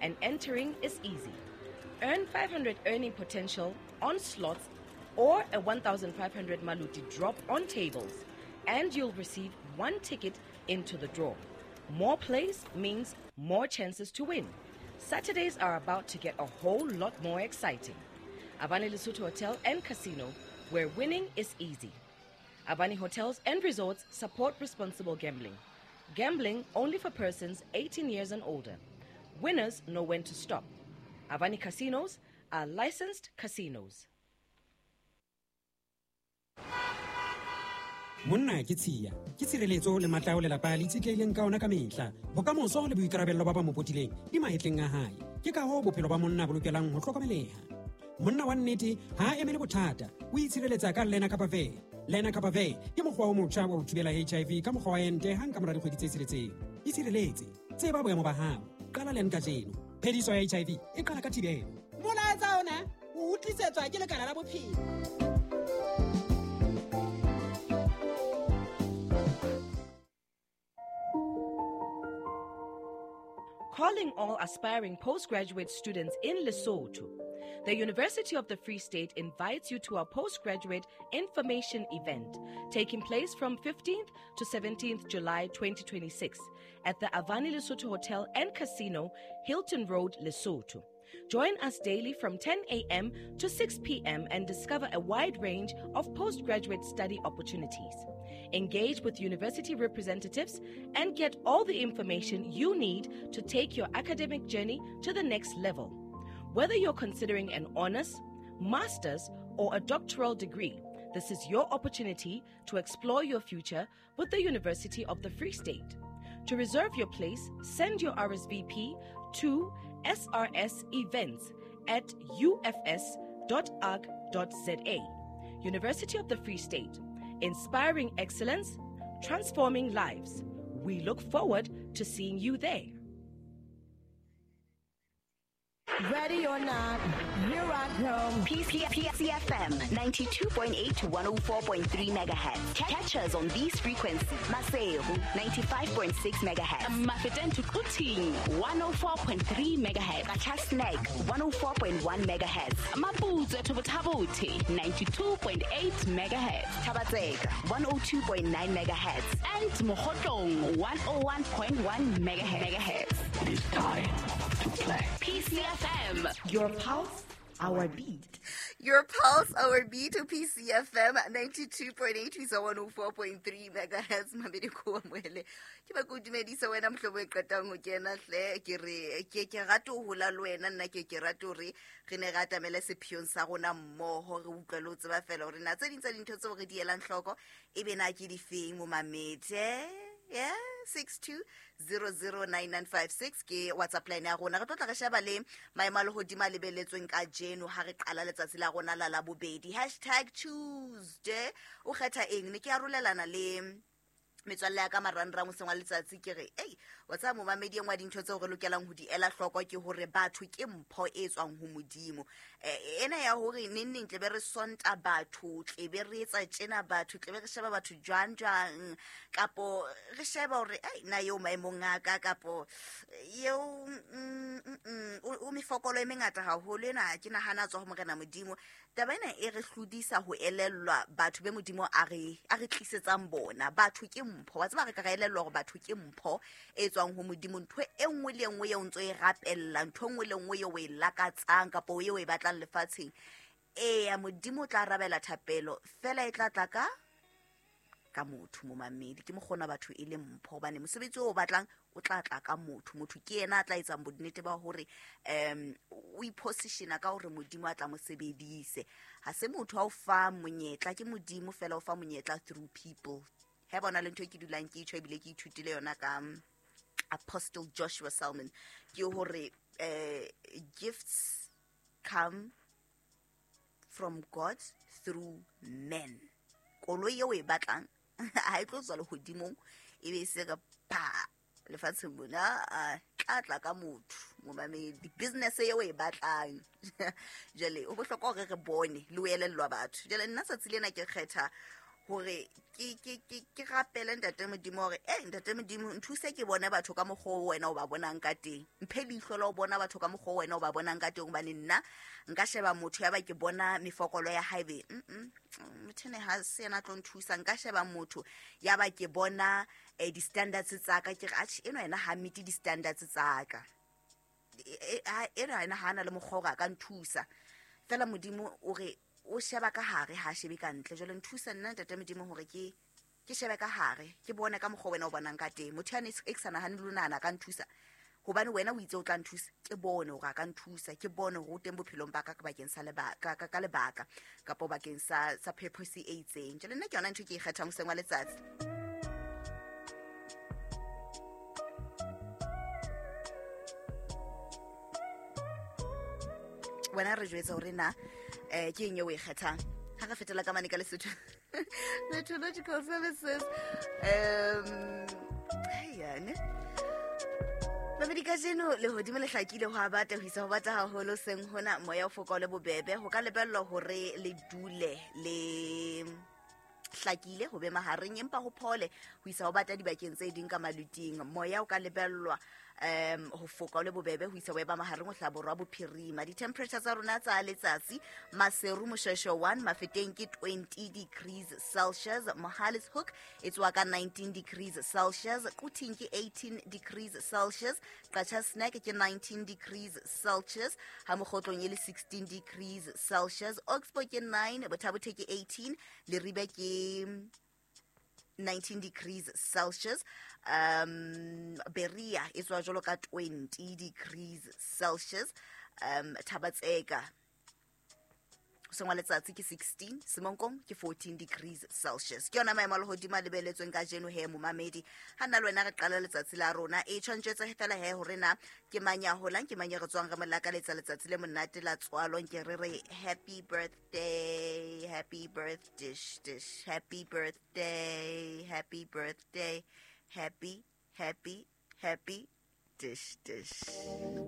and entering is easy. Earn 500 earning potential on slots or a 1,500 Maluti drop on tables, and you'll receive one ticket into the draw. More plays means more chances to win. Saturdays are about to get a whole lot more exciting. Avani Lesotho Hotel and Casino, where winning is easy. Avani Hotels and Resorts support responsible gambling. Gambling only for persons 18 years and older. Winners know when to stop. Avani Casinos are licensed casinos. Monna ke tshiya, ke tshireletso le matla ao lelapa le itshetlehileng ka ona ka mehla. Bokamoso le boikarabello ba ba mo potileng di mahetleng a hae. Ke ka hoo bophelo ba monna bo lokelang ho hlokomeleha. Monna wa nnete ha a emele bothata, o itshireletsa ka Lenacapavir. Lenacapavir ke mokgwa o motjha wa ho thibela HIV ka mokgwa wa ente hang ka mora dikgwedi tse tsheletseng. Itshireletse, tseba boemo ba hao, qala len kajeno. Phediso ya HIV e qala ka thibelo. Molaetsa ona o tlisetswa ke Lekala la Bophelo. Calling all aspiring postgraduate students in Lesotho. The University of the Free State invites you to our postgraduate information event taking place from 15th to 17th July 2026 at the Avani Lesotho Hotel and Casino, Hilton Road, Lesotho. Join us daily from 10 a.m. to 6 p.m. and discover a wide range of postgraduate study opportunities. Engage with university representatives and get all the information you need to take your academic journey to the next level. Whether you're considering an honors, master's, or a doctoral degree, this is your opportunity to explore your future with the University of the Free State. To reserve your place, send your RSVP to srsevents@ufs.org.za. University of the Free State, inspiring excellence, transforming lives. We look forward to seeing you there. Ready or not, here I come. PCFM 92.8 to 104.3 megahertz. Catch us on these frequencies. Maseru 95.6 megahertz. Mafeteng to Quthing 104.3 megahertz. Qacha's Nek 104.1 megahertz. Maputswe to Botha-Bothe 92.8 megahertz. Thaba-Tseka 102.9 megahertz. And Mokhotlong 101.1 megahertz. It is time to play. PCFM. Your pulse, our beat. Your pulse, our beat to PCFM 92.8 to 104.3 megahertz. Mamedi ko amohele. Ke ba ko dumedisa wena mohlobo e qetang ho kena hle ke re ke ke rate ho hola le wena nna ke ke rate hore re ne re atamele sepheong sa rona mmoho re utlwe le ho tseba fela hore na tse ding tsa dintho tseo re di elang hloko e be na ke difeng mo mamedi. Yeah, 62009956 ke WhatsApp line ya rona. Re tlo tla re sheba le maemo a lehodimo a lebeletsweng kajeno ha re qala letsatsi la rona la Labobedi. #Tuesday o kgetha eng? Ne ke arolelana le metswalle ya ka marangrang hoseng wa letsatsi ke re ei wa tseba momamedi e nngwe ya dintho tseo re lokelang ho di ela hloko ke hore batho ke mpho e tswang ho Modimo. Ena ya hore neng neng tle be re sonta batho, tle be re etsa tjena batho, tle be re sheba batho jwang jwang, kapo re sheba hore ei na eo maemong a ka, kapo eo o mefokolo e mengata haholo ena ke nahana tswa ho Morena Modimo. Taba ena e re hlodisa ho elellwa batho be Modimo a re tlisetsang bona. Batho ke mpho. Wa tseba re ka re elellwa hore batho ke mpho e tswang ho Modimo. Ntho e nngwe le e nngwe eo ntso e rapella, ntho e nngwe le nngwe eo o e lakatsang kapa eo o e batlang lefatsheng, eya Modimo o tla arabela thapelo fela e tla tla ka motho momamedi. Ke mokgona batho e le mpho hobane mosebetsi o batlang o tla tla ka motho. Motho ke yena a tla etsang bonnete ba hore o ipositiona ka hore Modimo a tla mo sebedise. Ha se motho a o fa monyetla, ke Modimo fela o fa monyetla through people. Ha bona le ntho e ke dulang ke itjho ebile ke ithutile yona ka Apostle Joshua Selman, ke hore gifts come from God through men. Koloi eo e batlang ha e tlo tswa lehodimong e be se ka pa lefatsheng mona, tla tla ka motho momamedi. Business eo e batlang jwale o bohlokwa hore re bone le ho elellwa batho. Jwale nna tsatsi lena ke kgetha Hore ke rapele Ntate Modimo hore Ntate Modimo nthuse ke bone batho ka mokgwa o wena o ba bonang ka teng. Mphe leihlo la ho bona batho ka mokgwa o wena o ba bonang ka teng, hobane nna nka sheba motho ya ba ke bona mefokolo ya hae be motho ene ha se yena a tlo nthusa. Nka sheba motho ya ba ke bona di-standards tsa ka, ke re atjhe eno yena ha meet di-standards tsa ka, eno yena ha ana le mokgwa hore a ka nthusa. Fela Modimo o re o sheba ka hare, ha shebe ka ntle. Jwale nthusa nna Ntate Modimo hore ke shebe ka hare, ke bone ka mokgwa wena o bonang ka teng. Motho yane e ke sa nahane le ho nahana ka nthusa, hobane wena o itse o tla nthusa, ke bone hore a ka nthusa, ke bone hore o teng bophelong ba ka bakeng sa lebaka, ka lebaka kapa bakeng sa purpose e itseng. Jwale nna ke yona ntho ke e kgethang hoseng wa letsatsi. Wena re jwetsa hore na ke eng eo o e kgethang. Ha re fetela ka mane ka Lesotho Meteorological Services, yane babedi kajeno lehodimo le hlakile, ho a bata ho isa ho bata haholo seng hona, moya o foka o le bobebe. Ho ka lebellwa hore le dule le hlakile ho be mahareng, empa ho phole ho isa ho bata dibakeng tse ding ka maluting. Moya o ka lebellwa ho foka o le bobebe ho isa ho eba mahareng ho hlaha borwa bophirima. Di-temperature tsa rona tsa letsatsi, Maseru Moshweshwe 1, Mafeteng ke 20 degrees Celsius, Mohale's Hoek e tswa ka 19 degrees Celsius, Quthing ke 18 degrees Celsius, Qacha's Nek ke 19 degrees Celsius, ha Mokgotlong e le 16 degrees Celsius, Oxbow ke 9, Botha-Bothe ke 18, Leribe ke 19 degrees Celsius, Berea e tswa jwalo ka 20 degrees Celsius, Thabatseka hoseng wa letsatsi ke 16, Semonkong ke 14 degrees Celsius. Ke yona maemo a lehodimo a lebeletsweng kajeno he momamedi. Ha nna le wena re qala letsatsi la rona, e tshwantshetse fela he hore na ke mang ya holang, ke mang ya re tswang re mo lakaletsa letsatsi le monate la tswalo. Nke re re happy birthday, happy birthday, dish, happy birthday, happy birthday, happy, happy, happy, dish, dish.